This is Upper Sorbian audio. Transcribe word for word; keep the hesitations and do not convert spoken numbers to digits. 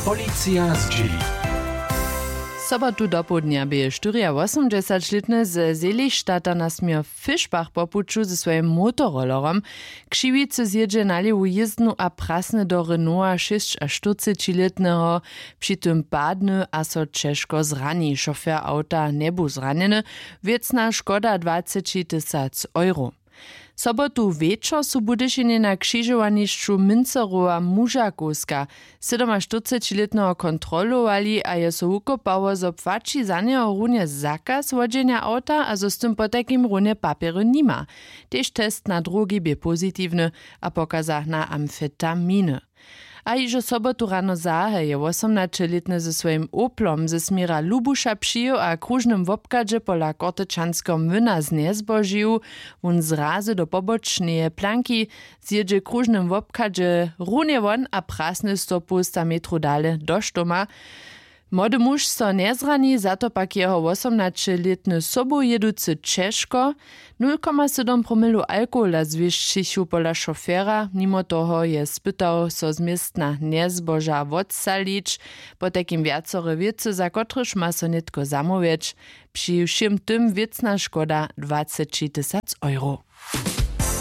Policija zdźěli. Sobotu dopołdnja bě štyriawosomdźesaćlětny ze Selichstadta na směr Fischbach po puću ze swojim motorollerom. Křiwicy zjědźe na lěwu jězdnu a prasny do Renaulta šěsćaštyrcećilětneho. Při tym padny a so ćežko zrani. Šofer awta njebu zranjeny. Wěcna škoda dwaceći tysac euro. Sobotu wječor su w Budyšinje na křižowanišću Münzerowa mužakowska sydomaštyrcećilětneho kontrolowali a je so wukopało, zo płaći za njeho runje zakaz wodźenja awta a zo z tym potajkim runje papjery nima. Tež test na drogi bě pozitiwny a pokaza na amfetaminy. A hižo sobotu rano zahe je wosomnaćelětny ze swojim Oplom ze směra Lubuša přijěł a w króžnym wobchadźe pola Kortečanskeho młyna znjezbožił. Wón zrazy do pobočneje planki, zjědźe w króžnym wobchadźe runje won a prasny stopołsta metrow dale do štoma. Młody muž so njezrani, za to pak jeho wosomnaćelětny sobu jěducy ćežko. Nul koma sydom promilow alkohola zwěsćichu pola šofera. Nimo toho je spytał, so z městna njezboža wotsalić. Potajkim wjacore wěcy, za kotrychž ma so nětko zamołwjeć. Při wšěm tym wěcna škoda dwaceći tysac euro.